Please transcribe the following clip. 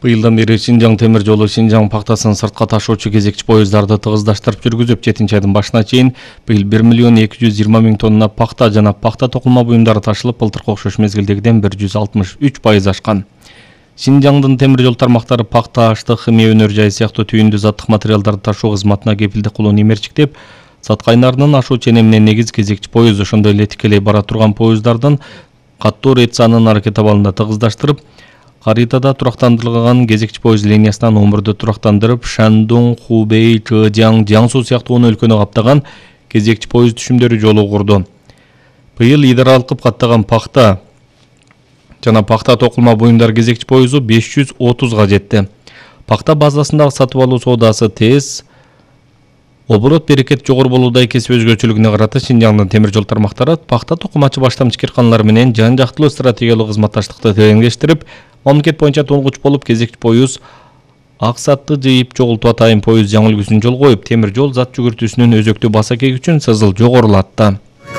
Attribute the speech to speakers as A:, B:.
A: Быйылдан бери Шинжаң темир жолу Шинжаң пактасын сыртка ташуучу кезекчи поездарды тыгыздаштырып жүргүзүп, 7-айдын башына чейин быйыл 1.220.000 тонна пакта жана пакта токулма буюмдары ташылып, былтыркы окшош мезгилдегиден 163% ашкан. Шинжаңдын темир жол тармактары пакта, аштык, химия өнөр жайы сыяктуу түйүндү заттык материалдарды ташуу кызматына кепилдик кылууну имерчиктеп, Сат кайнарынын ашуу ченеминен негиз кезекчи поезд, ошондой эле тикелей бара турган поезддардын каттуу рейд санын аракет абалында тыгыздаштырып, Харитада турактандырылган кезекчи поезд линиясынан Омурду турактандырып, Шандун, Хубей, Чжэжяң, Jiangsu сыяктуу 10 өлкөнү каптаган кезекчи поезд түшүмдөрү жолу курду. Быйыл идара алкып каттаган пакта жана пакта токулма буюмдар кезекчи поезду 530га жетти. Пакта базасындагы сатып алуу соодасы тез, оборот берекет жогору болуудай кесип өзгөчөлүгүнө карата Шинжаңдын темир жол тармактары пакта токумачы баштамчы кирканалар менен жан жактылуу стратегиялык кызматташтыкты тереңдештирип, мамлекет боюнча толгуч болуп кезекчи поезд аксатты жыйып чогултуп атайын поезд жаңы үлгүсүн жол коюп, темир жол зат жүгүртүүсүнүн өзөктүү басакеги үчүн сызыл жогорулатты.